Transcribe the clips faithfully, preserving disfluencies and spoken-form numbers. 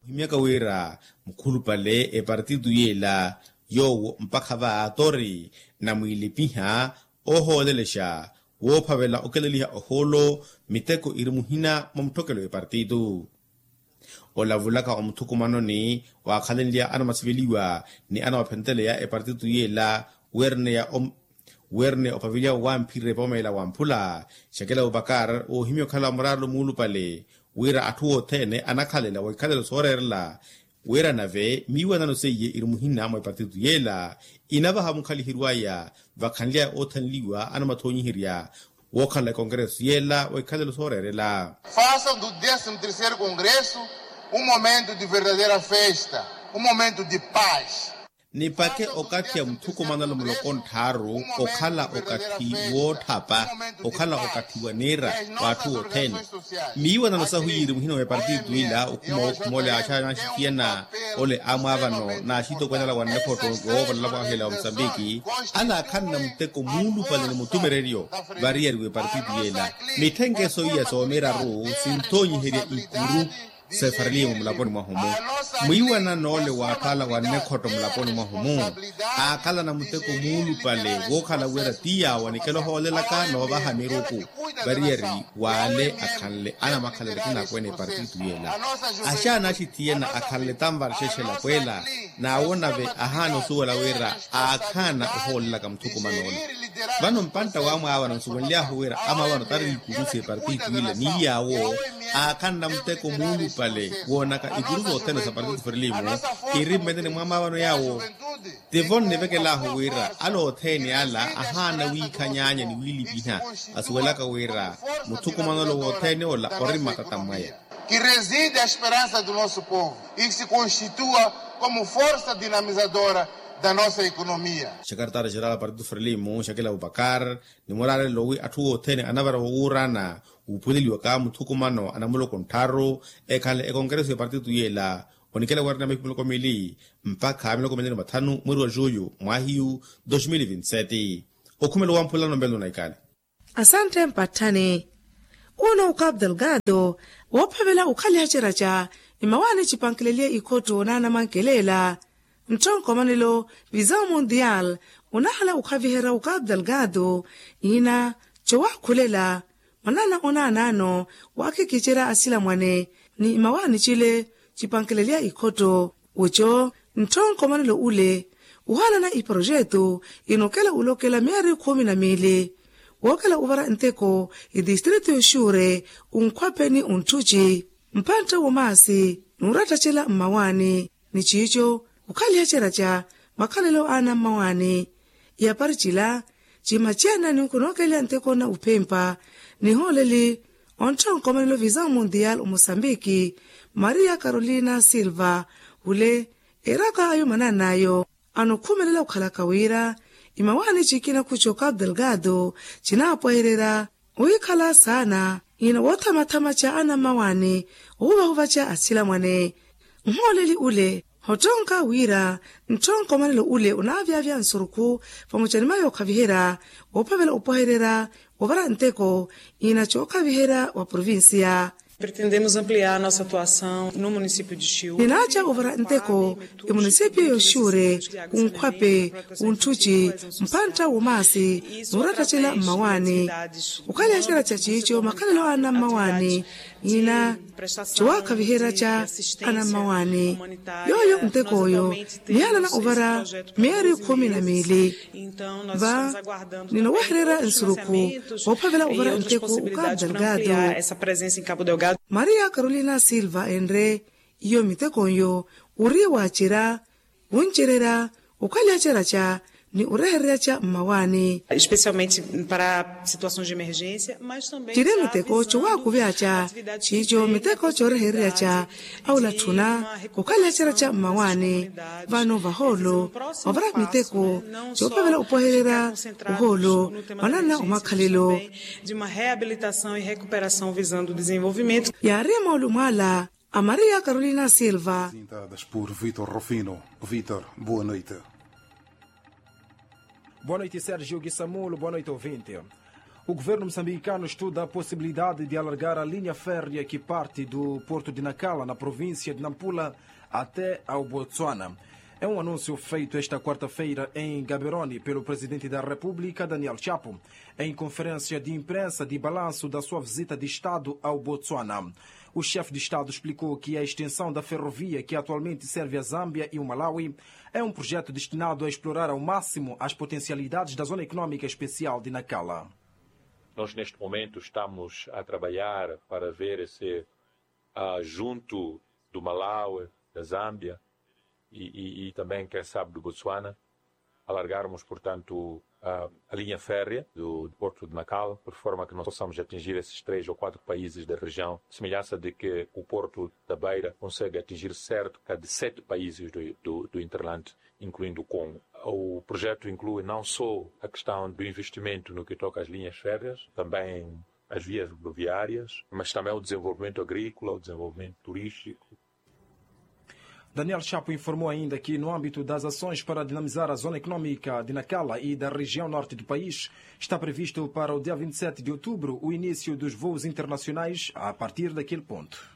Ohimyaka wira mukhulupale epartito yeela yoowo mpakha va tori namwiilipiha oohoolelexa woophavela okeleliha ohoolo miteko iri muhina mwa mutthokelo w'epartito. Olavulaka omuthukumanoni waakhalenlya anamasiveliwa ni anawapheneteleya epartito yeela weerneya om- weerneya opaveliwa wamphirire poomeela wamphula. Xakela opakar woohimya okhala muraarelo muulupale wira atthu othene anakhalela wikhalelo sooreerela wira nave miiwanano seiye iri muhina mwa epartito yeela inavaha mukhaliheriwaya vakhanlyaya oothanliwa anamathoonyiherya wookhala ekongreso yeela wa ikhalelo sooreerela. Faça do décimo terceiro congresso um momento de verdadeira festa, um momento de paz. Nipake okathi ya muthukumanelo muloko ntthaaru okhala okathi wootthapa okhala okathi wa niira w'atthu othene. Miiwanano sahu yiiri muhina wa epartito ila okhuma wookhuma ole axaana axitiyana ole amwaavano n'axitokweene ala wa nnekhotto woovolela mwaahela wa musambiki. Anaakhanna muteko muulupale ni mutumereryo variyari w'epartito yeela. Mitthenkelo iya soomiraru sinthoonyiherya ikuru sefarelimu mulaponi mwahu-mu. Mwiiwanano ole w'atthu ala wa nnekhotto mulaponi mwahu-mu aakhalana muteko muulupale wookhala wira ti yaawo anikela ohoolelaka noovaha miruku variyari w'ale akhanle anamakhalelo akinaakwene epartito yeela. Axaana axithiyana akhanle tanvarxexela pweela n'awo nave ahaana osuwela wira aakhaana ohoolelaka muthukumano ole. Vano mpantta wamwaavano nsuwenly'ahu wira amwaavano tariri ikuru s'epartito ila ni yaawo aakhanna muteko muulupale woonaka ikuru sothene sa partido frelimo iri mmenene mwa amwaavano yaawo. Tivo nnivekel'ahu wira ala othene ala ahaana wiikhanyaanya ni wiilipiha asuwelaka wira muthukumanolo wothene ola ori mmatata mwaya. Que reside a esperança do nosso povo e se constitua como força dinamizadora da nossa economia. Xekartara xerala partido frelimo xakela abubakar ni muraarelo wi atthu othene anavara wowuurana wuuphuleliwaka muthukumano anamuloko nttharu ekhanle ekongreso ya partido yeela onikela warina mihiku miloko mili mpakha miloko mili ni mathanu mweri wa julho mwahiyu dos mil vinti sete. Okhumelo wamphulano mbelo naikale. Asantte mpatthani. Uno ukapu delgado woophavela ukhaliha ceraca imawaani cipankeleliye ikhotto naanamankelela ntthonko manelo visao mundial unahala ukhaviherya ukapu delgado ina cowaakhulela mwanana onaanaano waakhikicerya asilamwane ni imawaani cile cipankeleliya ikhotto. Oco ntthonko manelo ule uhalana iprojeto inokela ulokela meeri khumi na miili wookela uvara nteko itistrito yoxuure unkhwape ni unthuci mphantta womaasi nuurattacela mmawaani ni ciico ukhaliha ceraca makhalelo aana mmawaani. Iyapari cila cimaciyana ni nkunookelya nteko na uphempa nihooleli onttha onkomanelo visao mundial omosambiki maria carolina silva ule eraka ayo manan'ayo anokhumelela okhalaka wira imawaani cikinakhu cokapu delgado cinaapwehererya wiikhala saana ina woothamathama ca anammawaani ohuvahuva ca asilamwane. Nhooleli ule hottonka wira ntthonko manelo ule onaavyavya nsurukhu vamoca ni mayo okhaviherya woophavela opwehererya wovara nteko ina cookhaviherya wa provincia. Pretendemos ampliar nossa atuação no município de chiu. Ninaaca ovara nteko emunisipio yoxuure unkhwape unthuci mphantta womaasi nuurattacela mmawaani. Ukhaliha cera ca ciico makhalelo aana mmawaani ina cowaakhaviherya ca anammawaani yooyo nteko oyo nihalana ovara meeri khumi na miili. Va ninowehererya nsurukhu woophavela ovara nteko ukapu delgado. Maria carolina silva enre iyo miteko nyo uri waacerya wuncererya ukhaliha cera ca ni urehererya ca mmawaani. Especialmente para situações de emergência mas também ciri miteko cowaakuvya ca ciico miteko coorehererya ca awulatthuna okhaliha cera ca mmawaani. Vano vahoolo ovara miteko coophavela opwehererya ohoolo mwanana omakhalelo. De uma reabilitação e recuperação visando o desenvolvimento. Yaari moolumo ala a maria carolina silva. Apresentadas por vitor rufino. Vitor, boa noite. Boa noite sergio gisamulo boa noite ouvinte. O governo moçambicano estuda a possibilidade de alargar a linha férrea que parte do porto de Nacala, na província de Nampula, até ao Botsuana. É um anúncio feito esta quarta-feira em Gaborone pelo presidente da República, Daniel Chapo, em conferência de imprensa de balanço da sua visita de Estado ao Botsuana. O chefe de Estado explicou que a extensão da ferrovia que atualmente serve a Zâmbia e o Malawi é um projeto destinado a explorar ao máximo as potencialidades da Zona Económica Especial de Nacala. Nós, neste momento, estamos a trabalhar para ver se, ah, junto do Malawi, da Zâmbia e, e, e também, quem sabe, do Botsuana, alargarmos, portanto, a, a linha férrea do, do Porto de Nacala, por forma que nós possamos atingir esses três ou quatro países da região, semelhança de que o Porto da Beira consegue atingir cerca de sete países do, do, do hinterland, incluindo o Congo. O projeto inclui não só a questão do investimento no que toca às linhas férreas, também às vias rodoviárias, mas também o desenvolvimento agrícola, o desenvolvimento turístico. Daniel Chapo informou ainda que, no âmbito das ações para dinamizar a zona económica de Nacala e da região norte do país, está previsto para o dia vinte e sete de outubro o início dos voos internacionais a partir daquele ponto.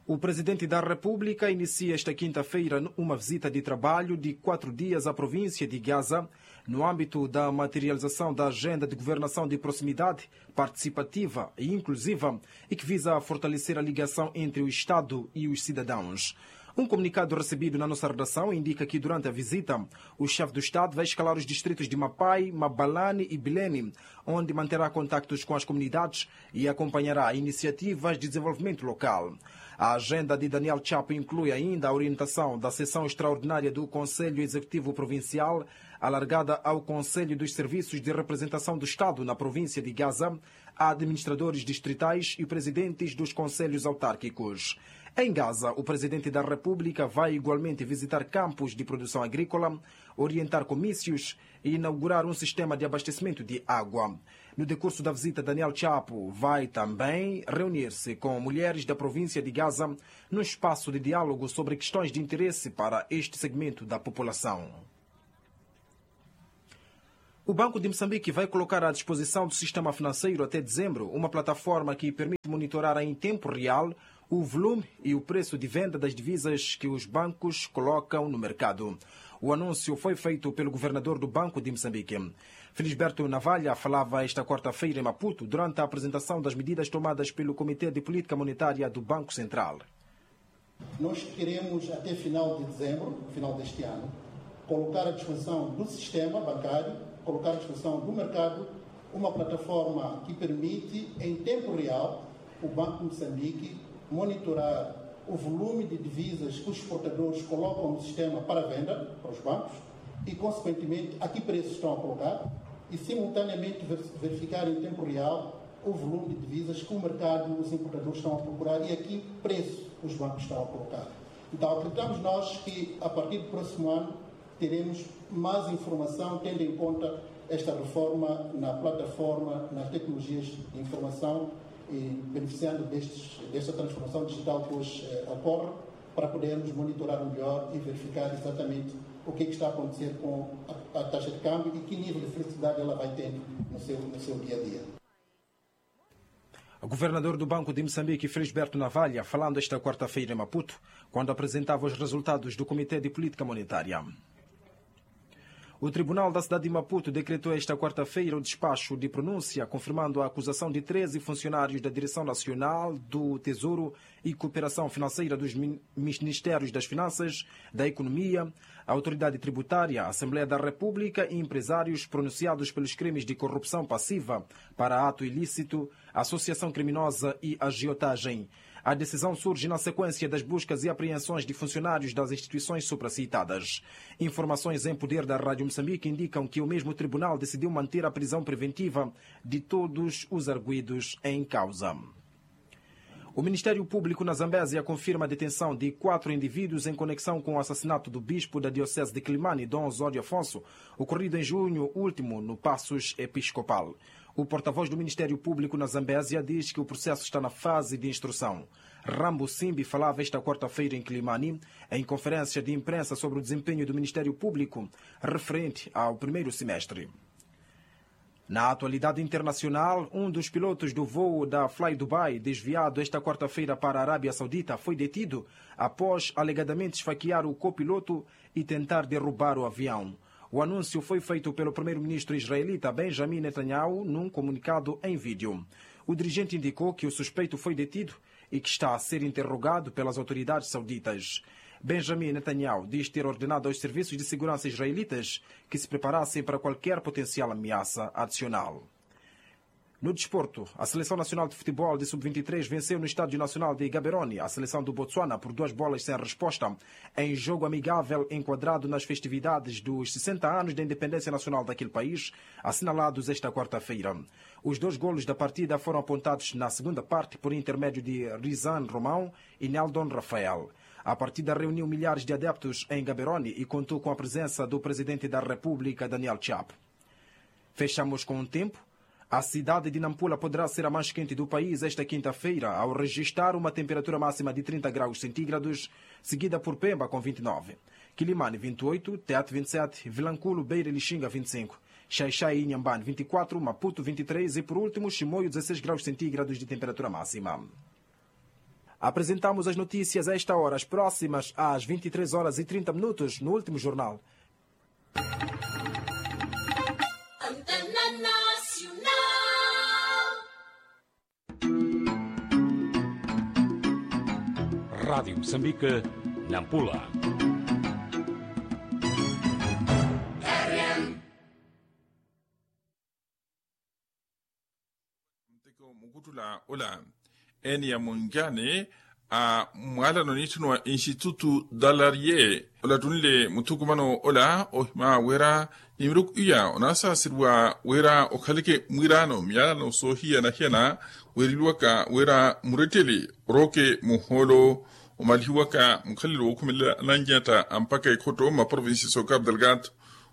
O presidente da República inicia esta quinta-feira uma visita de trabalho de quatro dias à província de Gaza, no âmbito da materialização da agenda de governação de proximidade, participativa e inclusiva, e que visa fortalecer a ligação entre o Estado e os cidadãos. Um comunicado recebido na nossa redação indica que, durante a visita, o chefe do Estado vai escalar os distritos de Mapai, Mabalane e Bilene, onde manterá contactos com as comunidades e acompanhará iniciativas de desenvolvimento local. A agenda de Daniel Chapo inclui ainda a orientação da sessão extraordinária do Conselho Executivo Provincial, alargada ao Conselho dos Serviços de Representação do Estado na província de Gaza, a administradores distritais e presidentes dos conselhos autárquicos. Em Gaza, o presidente da República vai igualmente visitar campos de produção agrícola, orientar comícios e inaugurar um sistema de abastecimento de água. No decurso da visita, Daniel Chapo vai também reunir-se com mulheres da província de Gaza, num espaço de diálogo sobre questões de interesse para este segmento da população. O Banco de Moçambique vai colocar à disposição do sistema financeiro até dezembro uma plataforma que permite monitorar em tempo real o volume e o preço de venda das divisas que os bancos colocam no mercado. O anúncio foi feito pelo governador do Banco de Moçambique. Felisberto Navalha falava esta quarta-feira em Maputo, durante a apresentação das medidas tomadas pelo Comitê de Política Monetária do Banco Central. Nós queremos, até final de dezembro, final deste ano, colocar à disposição do sistema bancário, colocar à disposição do mercado, uma plataforma que permite, em tempo real, o Banco de Moçambique monitorar o volume de divisas que os exportadores colocam no sistema para venda para os bancos e, consequentemente, a que preços estão a colocar e, simultaneamente, ver-, verificar em tempo real o volume de divisas que o mercado, os importadores estão a procurar e a que preço os bancos estão a colocar. Então, acreditamos nós que, a partir do próximo ano, teremos mais informação, tendo em conta esta reforma na plataforma, nas tecnologias de informação e beneficiando destes, desta transformação digital que hoje, eh, ocorre, para podermos monitorar melhor e verificar exatamente o que é que está a acontecer com a, a taxa de câmbio e que nível de flexibilidade ela vai tendo no seu, no seu dia a dia. O governador do Banco de Moçambique, Felisberto Navalha, falando esta quarta-feira em Maputo, quando apresentava os resultados do Comitê de Política Monetária. O Tribunal da Cidade de Maputo decretou esta quarta-feira o despacho de pronúncia, confirmando a acusação de treze funcionários da Direção Nacional do Tesouro e Cooperação Financeira dos Min-, Ministérios das Finanças, da Economia, Autoridade Tributária, Assembleia da República e empresários pronunciados pelos crimes de corrupção passiva para ato ilícito, associação criminosa e agiotagem. A decisão surge na sequência das buscas e apreensões de funcionários das instituições supracitadas. Informações em poder da Rádio Moçambique indicam que o mesmo tribunal decidiu manter a prisão preventiva de todos os arguidos em causa. O Ministério Público na Zambésia confirma a detenção de quatro indivíduos em conexão com o assassinato do bispo da Diocese de Quilimane, Dom Osório Afonso, ocorrido em junho último no Passos Episcopal. O porta-voz do Ministério Público na Zambésia diz que o processo está na fase de instrução. Rambo Simbi falava esta quarta-feira em Quilimane, em conferência de imprensa sobre o desempenho do Ministério Público referente ao primeiro semestre. Na atualidade internacional, um dos pilotos do voo da fly dubai desviado esta quarta-feira para a arábia saudita foi detido após alegadamente esfaquiar o copiloto e tentar derrubar o avião. O anúncio foi feito pelo primeiro-ministro israelita benjamin netanyahu num comunicado em vídeo. O dirigente indicou que o suspeito foi detido e que está a ser interrogado pelas autoridades sauditas. Benjamin netanyahu diz ter ordenado aos serviços de segurança israelitas que se preparassem para qualquer potencial ameaça adicional. No desporto, a seleção nacional de futebol de sub vinte e três venceu no estádio nacional de gaberoni a seleção do botsuana por duas bolas sem resposta, em jogo amigável enquadrado nas festividades dos sessenta anos da independência nacional daquele país, assinalados esta quarta-feira. Os dois golos da partida foram apontados na segunda parte por intermédio de rizan romão e neldon rafael. A partida reuniu milhares de adeptos em gaberoni e contou com a presença do presidente da república daniel chapo. Fechamos com o tempo. A cidade de nampula poderá ser a mais quente do país esta quinta-feira ao registar uma temperatura máxima de trinta graus centígrados, seguida por pemba com vinte e nove. Quilimani vinte e oito, teat vinte e sete, vilanculo beira e lixinga vinte e cinco, xaixai e inhamban vinte e quatro, maputo vinte e três e por último chimoio dezesseis graus centígrados de temperatura máxima. Apresentamos as notícias a esta hora as próximas às vinte e três horas e trinta minutos no último jornal. Rádio Moçambique, Nampula. Muteko mukuttula ola eni ya munjani a mwaalano niitthuniwa institutu dalarie olattunle muthukumano ola ohima wira ni miruku iya onasaasiriwa wira okhaleke mwiiraano myaalano soohiyana-hiyana. Weereliwaka wira muretteli orooke muhoolo omalihiwaka mukhalelo wookhumelela ananyatta ampakha ekhotto mmaprovinsi sookapu delgado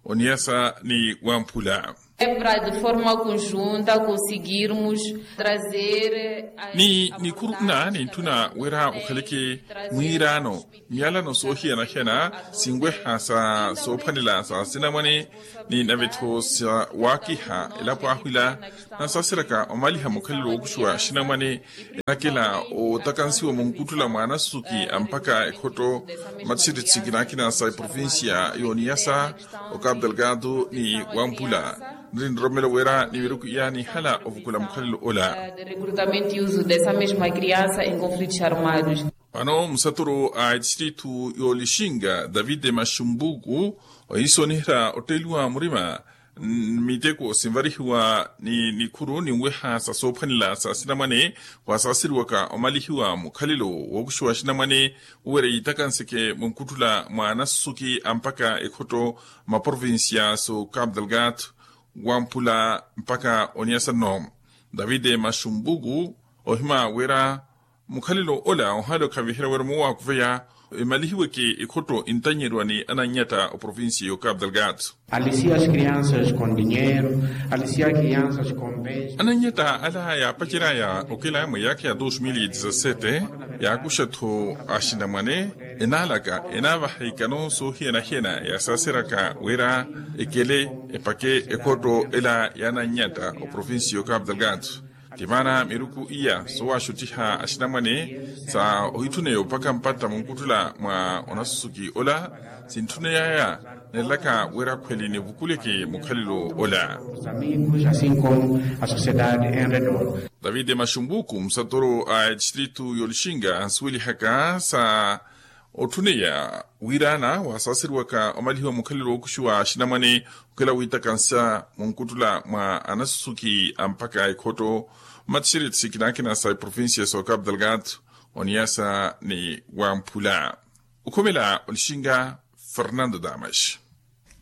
oniyasa ni wamphula. Evra de forma conjunta conseguirmos trazer ni nikhuruna nintthuna wira okhaleke mwiiraano myalano soohiyana-hiyana sinweha sa soophwanela sa sinamwane ni navetho sa waakiha elapo ahwila nasaseraka omaliha mukhalelo wookuxuwa sinamwane enakela otakansiwa munkutthula mwa anasusuki ampakha ekhotto matixiritsi kinaakina sa eprovincia yooniyasa okapu delgado ni wampula niri niroromelo wira ni miruku iya nihala ovukula mukhalelo ola. De recrutamento e uso dessa mesma criança em conflitos armados. Vano musaturu a etistritu yoolixinga david maxumbuku ohiisonihira otteliwa murima miteko sinvarihiwa ni nikhuru ninweha sa soophwanela sa sinamwane wasaaseriwaka omalihiwa mukhalelo wookuxiwa sinamwane uwere yiitakanseke munkutthula mwa anasusuki ampakha ekhotto mmaprovincia so capu delgado wampula mpakha oniyasa nno. David maxumbuku ohima wira mukhalelo ola ohaale okhavihera wira muwaakuveya emalihiweke ekhotto intanyeriwa ni ananyatta oprovincia yo capu delgado. Alisia as crianças com dinheiro. Alisia crianças com bens. Ananyatta ala yaapaceryaya okela mwa eyaakha ya dos mil e dezasete yaakuxa-tho axinamwane enaalaka enaavaha ikano soohiyana-hiyana yasaaseryaka wira ekele epake ekhotto ela ya ananyatta oprovincia yo capu delgado. Ti maana miruku iya soowaxuttiha axinamwane sa ohitthuneye opakha mpatta munkutthula mwa onasusuki ola sintthuneyaya nelaka wira khweli nivukuleke mukhalelo ola. David maxumbuku musatoro a etistritu y'olixinga ansuwelihaka sa otthuneya wiiraana waasaaseriwaka omalihiwa mukhalelo wookuxiwa axinamwane okhela wiitakansa munkutthula mwa anasusuki ampakha ekhotto mmathixereti sikinaakina sa eprovincia so capu delgado oniyasa ni wamphula. Okhumela olixinga fernando damas.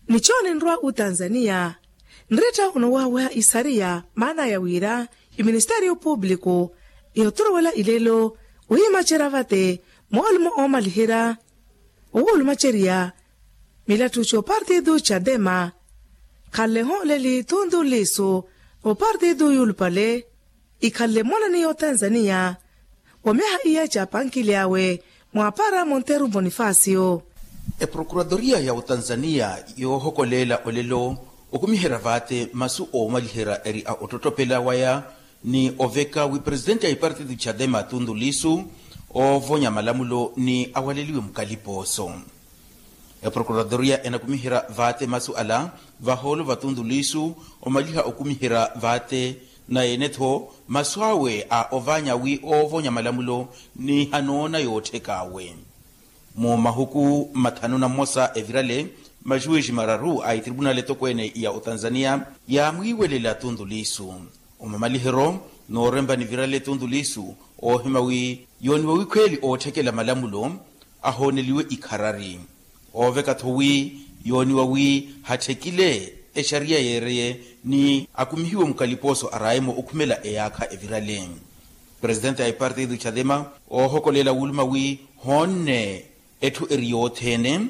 Nicho ninrwa otanzania nretta onowaaweha isariya maana ya wira iministeriyo publiku yothorowela ilelo wiimacerya vate moolumo oomaliherya owoolumacerya milattu copartidu cadema khanle hooleli thunthunliisu opartidu yuulupale ikhanle mmonani y'otanzania wa myaha iya caapankilyawe mwaapara monteru bonifasio. Eprokuratoriya ya otanzania yoohokoleela olelo Okumiherya vaate masu oomaliherya eri a ottottopela waya ni oveka wi presitenti a ipartiti chadema tundu lisu, oovonya malamulo ni awaleliwe mukalipooso. Eprokuradoriya enakumiherya vaate masu ala vahoolo va tundu lisu, omaliha okumiherya vaate na ene-tho masu awe a ovaanya wi oovonya malamulo ni hanoona yootthek'awe. Mu mahuku mathanu na mmosa evirale, majuwiji mararu a itribunali etokweene ya otanzaniya yaamwiiwelela tundu lisu. Omamaliheryo noorempa nivirale tundu lisu, oohima wi yooniwa wikhweeli ootthekela malamulo ahooneliwe ikharari. Ooveka-tho wi yooniwa wi hatthekile exariya yeereye ni akumihiwe mukalipooso araaye-mo okhumela eyaakha evirale. Presitenti a ipartiti chadema oohokolela wuluma wi hoonne etthu eri yothene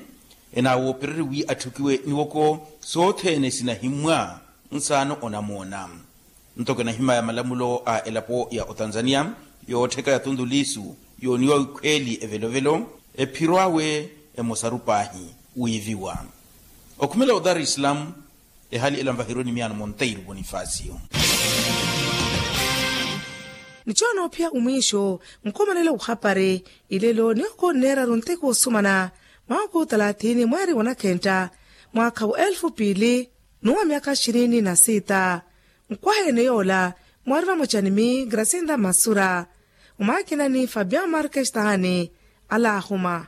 enawoopererye wi atthukiwe niwoko sothene sinahimmwa nsaano onamoona. Nto kinahimaya malamulo a elapo ya otanzaniya yoottheka ya tundu lisu yooniwa wikhweeli evelovelo ephiro awe emosaru paahi wiiviwa. Okhumela o dar es salaam, ehali ela nvaherwe ni miyaano monteiro bonifasio. Nichoona ophiya omwiixo nkhomanela ohapari ilelo ni okonneeraru nteko osumana mwaakhu talathini mweeri wa nakhentta mwaakha wa elfu piili n'uwa myaakha xirini na siita. Nkwaha ene yoola mwaari vamoca ni mi grasinda masura, omwaakina ni fabio markestani alaahuma.